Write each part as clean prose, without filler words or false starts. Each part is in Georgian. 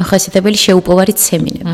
დამახასიათებელი შეუპოვარი ცემინება.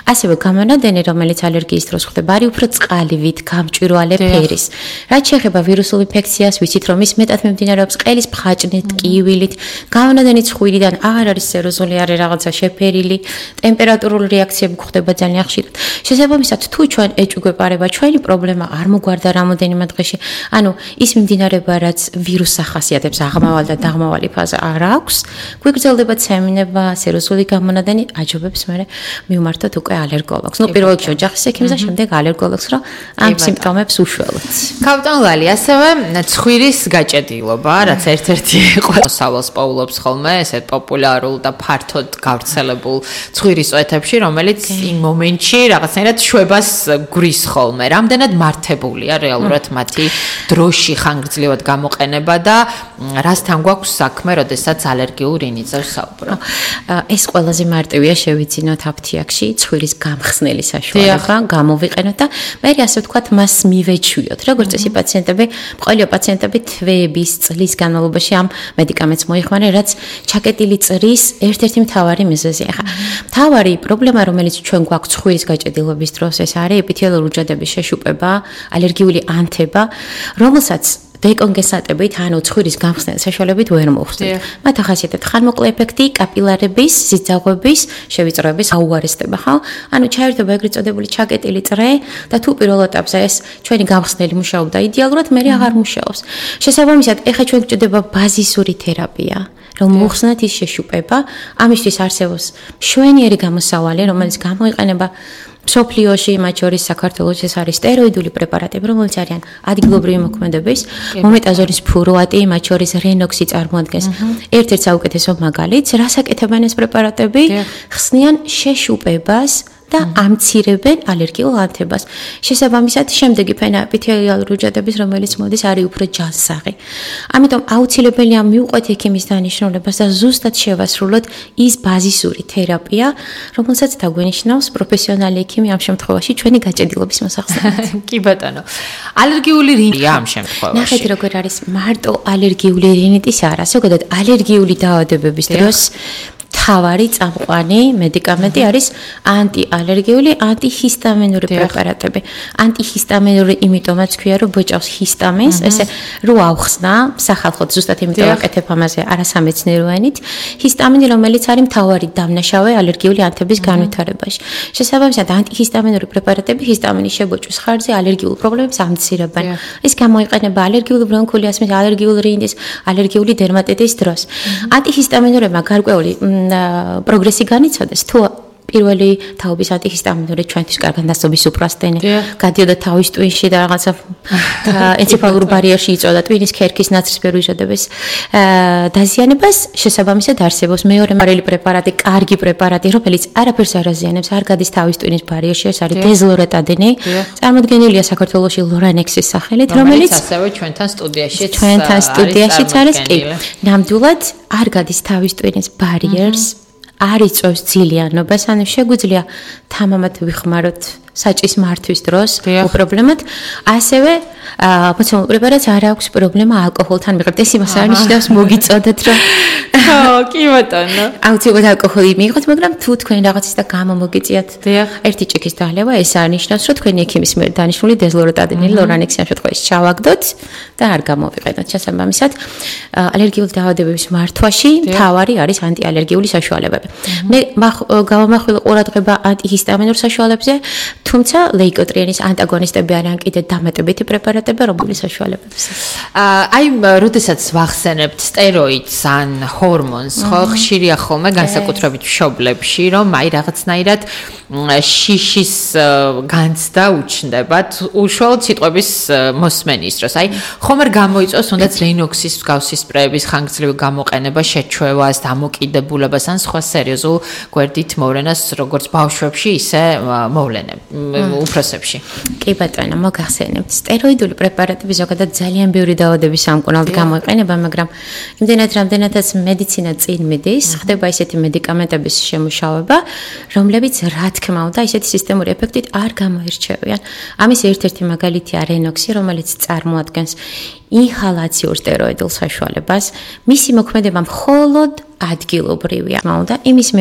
ასევე გამონადენი, რომელიც ალერგიის დროს ხდება, არის უფრო წყალივით, გამჭვირვალე ფერის. რაც შეეხება ვირუსულ ინფექციას, ვიცით რომ ის მეტად მიმდინარეობს ყელის ფხაჭნით, ტკივილით, გამონადენი ცხვირიდან აღარ არის სეროზული, არის რაღაცა შეფერილი, ტემპერატურული რეაქციები გვხდება ძალიან ხშირად. შესაბამისად, თუ ჩვენ ეჭვგვეპარება, ჩვენი პრობლემა არ მოგვარდა რამოდენიმე დღეში, ანუ ის მიმდინარეობა, რაც ვირუსს ახასიათებს, აღმავალი და დაღმავალი ფაზა არ აქვს, გვიგრძელდება ცემინება, სეროზული გამონადენი, აჯობებს მე მივმართოთ უკვე ალერგოლოგს. ნუ პირველ რიგში ოჯახის ექიმს და შემდეგ ალერგოლოგს, რომ ამ სიმპტომებს უშველოთ. კაპიტან ლალი, ასევე ცხვირის გაჭედილობა, რაც ერთ-ერთი ყოველსავალს პოულობს ხოლმე, ესეთ პოპულარულ და ფართოდ გავრცელებულ ცხვირის წვეთებში, რომელიც იმ მომენტში რაღაცნაირად შვებას გვრის ხოლმე. რამდენად მართებულია რეალურად მათი დროში ხანგრძლივად გამოყენება და რასთან გვაქვს საქმე, როდესაც ალერგიულ რინიძებს საუბრობ? ეს ყველაზე მარტივია შევიძინოთ აფთიაქში ცხვირის გამხსნელი საშუალება, გამოვიყენოთ და მე ასე ვთქვათ, მას მივეჩვიოთ. როგორც წესი პაციენტები, ყველა პაციენტები თვეების წლის განმავლობაში ამ მედიკამენტს მოიხმარენ, რაც ჩაკეტილი წრის ერთ-ერთი მთავარი მიზეზია. ახლა მთავარი პრობლემა, რომელიც ჩვენ გვაქვს ცხვირის გაჭედილობის დროს, ეს არის ეპითელიური უჯრედების შეშუპება, ალერგიული ანთება, რომელსაც დეკონგესტებით, ანუ ცხვირის გამხსნელი საშუალებით ვერ მოხსნით. მათ ახასიათებთ ხანმოკლე ეფექტი, კაპილარების, სიძაღვების, შევიწროების აუარესდება, ხო? ანუ ჩაერთვება ეგრეთ წოდებული ჩაკეტილი წრე და თუ პირველ ეტაპზე ეს ჩვენი გამხსნელი მუშაობდა იდეალურად, მე აღარ მუშაობს. შესაბამისად, ეხლა ჩვენ გვჭირდება ბაზისური თერაპია. რომ მოხსნათ ის შეშუპება, ამისთვის არსებობს მშვენიერი გამოსავალი, რომელიც გამოიყენება მსოფლიოში, მათ შორის საქართველოში ეს არის სტეროიდული პრეპარატები, რომელიც არიან ადგილობრივი მოქმედების, მომეტაზონის ფუროატი, მათ შორის რენოქსი წარმოადგენს ერთ-ერთ საუკეთესო მაგალითს, რას აკეთებენ ეს პრეპარატები? ხსნიან შეშუპებას და ამცირებენ ალერგიულ ანთებას. შესაბამისად, შემდეგი ფენა ეპითელიალური უჯრედების, რომელიც მოდის, არის უფრო ჯანსაღი. ამიტომ აუცილებელია მივყვეთ ექიმის დანიშნულებას და ზუსტად შევასრულოთ ის ბაზისური თერაპია, რომელსაც დაგვენიშნავს პროფესიონალი ექიმი ამ შემთხვევაში ჩვენი გაჭედილობის მოსახსნელად. კი ბატონო. ალერგიული რინიტი ამ შემთხვევაში. ნახეთ როგორ არის მარტო ალერგიული რინიტის არა, ზოგადად ალერგიული დაავადებების დროს თავარი წამყვანი მედიკამენტი არის ანტიალერგიული, ანტიჰისტამინური პრეპარატები. ანტიჰისტამინური იმიტომაც ქვია, რომ ბოჭავს ჰისტამინს, ესე რო ავხსნა, სახალხოდ ზუსტად იმიტომ ვაკეთებ ამაზე არასამეცნიერო ენით, ჰისტამინი, რომელიც არის მთავარი დამნაშავე ალერგიული ანთების განვითარებაში. შესაბამისად, ანტიჰისტამინური პრეპარატები ჰისტამინის შებოჭვის ხარჯზე ალერგიულ პრობლემებს ამცირებენ. ის გამოიყენება ალერგიული ბრონქული ასმის, ალერგიული რინიტის, ალერგიული დერმატიტის დროს. ანტიჰისტამინურებმა გარკვეული პროგრესი განიცოდეს, თუ პირველი თაობის ანტიჰისტამინური ჩვენთვის კარგად დასწობის სუპრასტენი გადიოდა თავის ტვინში და რაღაცა ენცეფალურ ბარიერში იწვევდა ტვინის ქერქის ნაცრისფერ უჯრედების დაზიანებას. შესაბამისად არსებობს მეორე მარელი პრეპარატი, კარგი პრეპარატი, რომელიც არაფერს არ აზიანებს, არ გადის თავის ტვინის ბარიერში, ეს არის დეზლორეტადინი. წარმოდგენილია საქართველოში ლორანექსის სახელით, რომელიც ასევე ჩვენთან სტუდიაშიც არის, კი. ნამდვილად არ გადის თავის ტვინის ბარიერს. არ იწვევს ძილიანობას, ანუ შეგვიძლია თამამად ვიხმაროთ საჭის მართვის დროს უპრობლემოდ. ასევე მოცემულ პრეპარატს არ აქვს პრობლემა ალკოჰოლთან მიღებთ. ეს იმას არ ნიშნავს მოგიწოდეთ, რომ კი ბატონო. აუცილებლად ალკოჰოლი მიიღოთ, მაგრამ თუ თქვენ რაღაცის და გამომოგიწიათ ერთი ჭიქის დალევა, ეს არ ნიშნავს, რომ თქვენი ექიმის მიერ დანიშნული დეზლორეტადინი, ლორანექსი ამ შემთხვევაში ჩავაგდოთ და არ გამოვიყენოთ. შესაბამისად, ალერგიული დაავადებების მართვაში მთავარი არის ანტიალერგიული საშუალებები. მე გავამახვილე ყურადღება ანტიჰისტამინურ საშუალებებზე, თუმცა ლეიკოტრიენის ანტაგონისტები არიან კიდე დამატებითი პრეპარატები, რომლის საშუალებებს. აი, როდესაც ვახსენებთ სტეროიდს ან ჰორმონს, ხო, ხშირია ხოლმე განსაკუთრებით მშობლებში, რომ აი რაღაცნაირად შიშის განცდა უჩნდებათ უშუალოდ სიტყვების მოსმენის დროს. აი, ხომ არ გამოიწვევს თუნდაც რენოქსის მსგავსი სპრეების ხანგრძლივი გამოყენება შეჩვევას, დამოკიდებულებას ან სხვა სერიოზულ გვერდით მოვლენას, როგორც ბავშვებში, ისე მოვლენებს. უფროსებში. კი ბატონო, მოგახსენებთ. სტეროიდული პრეპარატები ზოგადად ძალიან ბევრი დაავადების სამკურნალოდ გამოიყენება, მაგრამ იმდენად რამდენადაც მედიცინა წინ მიდის, ხდება ისეთი მედიკამენტების შემუშავება, რომლებიც რა თქმა უნდა, ისეთი სისტემური ეფექტით არ გამოირჩევიან. ამის ერთ-ერთი მაგალითია რენოქსი, რომელიც წარმოადგენს ინჰალაციურ სტეროიდულ საშუალებას. მისი მოქმედება მხოლოდ ადგილობრივია. თქმა უნდა, იმის